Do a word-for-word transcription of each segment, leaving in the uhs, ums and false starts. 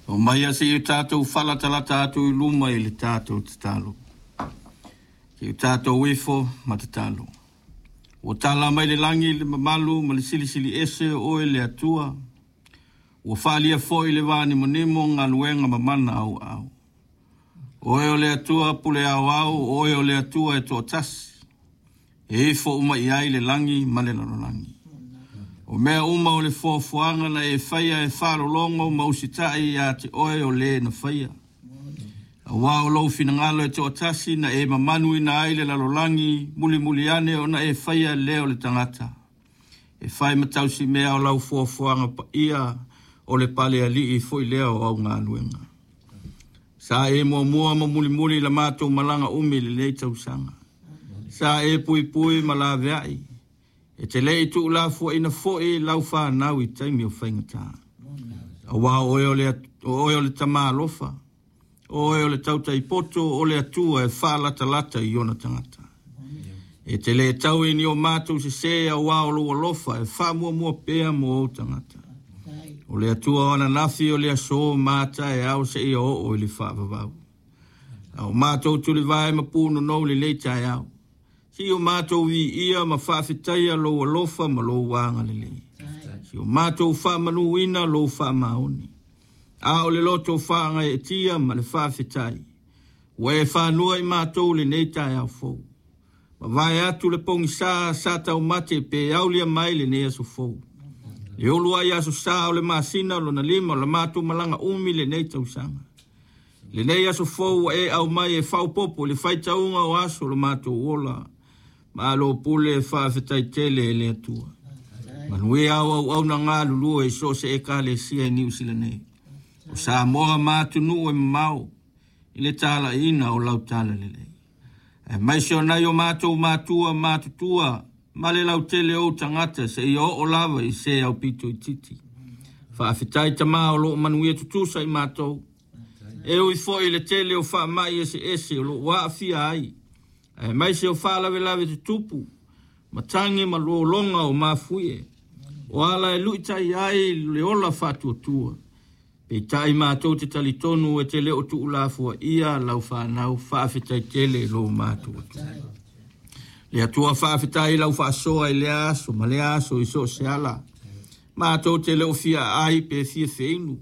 O mai ase i o tātou whalatalata atu i luma i le tātou tatalo. I o tātou ifo ma tatalo. Ua tala mai le langi le mamalu ma le silisili ese o oe le Atua. Ua whaalia foi le vā nimonimo galuega mamana au au. Oe o le Atua pule au au, oe o le Atua e toatasi. E ifo uma i ai le langi ma le lalolagi. O mea uma o le foafoaga na e faia e faalologo ma usitai ia te oe o le na faia. Auā o lou finagalo e toatasi na e mamanuina ai le lalolagi mulimuli ane ona e faia lea o le tagata. E fai ma tausimea o lau foafoaga paia o le palealii foi lea o au galuega. Sa e muamua ma mulimuli la matou malaga umi i lenei tausaga. Sa e puipui ma laveai. E te le i tuulafoaiina foi lau fanau i taimi o faigata. Auā o oe o le, o oe o le Tama alofa. O oe o le tautai poto o le Atua e faalatalata i ona tagata. E te le tau i ni o matou sesē auā o lou alofa e faamuamua pea mo ou tagata. O le Atua o ananafi o le asō ma a taeao seia oo i le faavavau. A o matou tulivae ma punonou lenei taeao. Si o matou viia ma faafetaia lou alofa ma lou agalelei. Si o matou faamanuina lou faamaoni. A o le loto faagaeetia ma le faafetai. Ua e fanua i matou lenei taeao fou. Mavae atu le pogisā sa taumate pe aulia mai lenei aso fou. Le ulu ai aso sa o le masina lona lima o la matou malaga umi lenei tausaga. Lenei aso fou ua e aumai e faaopoopo i le faitauga o aso o le matou ola. Malo pule faafetai tele e le Atua. Manuia au auauna galulue i so o se ekalesia i Niu Sila nei. O Samoa ma atunuu e mamao i le talaiina o lau talalelei. Aemaise o nai o matou matua matutua ma le lautele o ou tagata seia oo lava i se aupito itiiti. Faafetai Tama o loo manuia tutusa i matou. E ui foi i le tele o faamai eseese o loo aafia ai. Aemaise o faalavelave tutupu, matagi ma lologa o mafuie. O ala e luitai ai le ola faatuatua. Peitai matou te talitonu e te le o tuulafoaia lau fanau faafetai tele lo matuatua. Le Atua faafetai lau faasoa i lea aso ma lea aso i so o se ala. Matou te le o fia ai pe fia feinu.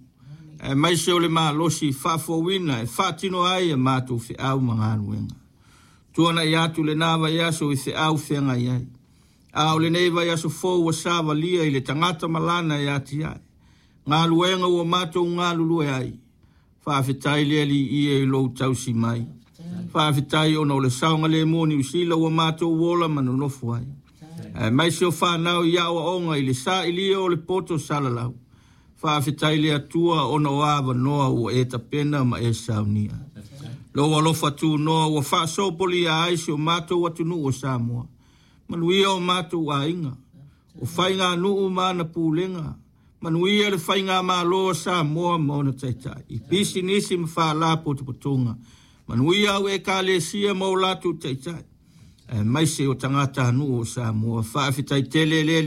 Aemaise o le malosi faafouina e faatino ai e matou feau ma galuega. Tuanai atu lena vaiaso i feau feagai ai. A o lenei vaiaso fou ua savalia i le tagata ma lana e atiae. Galuega ua matou galulue ai. Faafetai le Alii e i lou tausi mai. Faafetai ona o le saogalemu o Niu Sila ua matou ola ma nonofo ai. Aemaise o fanau i aoaoga i le sailia o le poto salalau. Faafetai le Atua ona o avanoa ua e tapena ma e saunia. Lou alofa tunoa ua faasopolia ai si o matou atunuu o Samoa. Manuia o matou aiga. O faiganuu ma ana pulega. Manuia le faigamalo o Samoa ma ona taitai. I pisinisi ma faalapotopotoga. Manuia au ekalesia ma o latou taitai. Aemaise o tagatanuu o Samoa. Faafetai tele le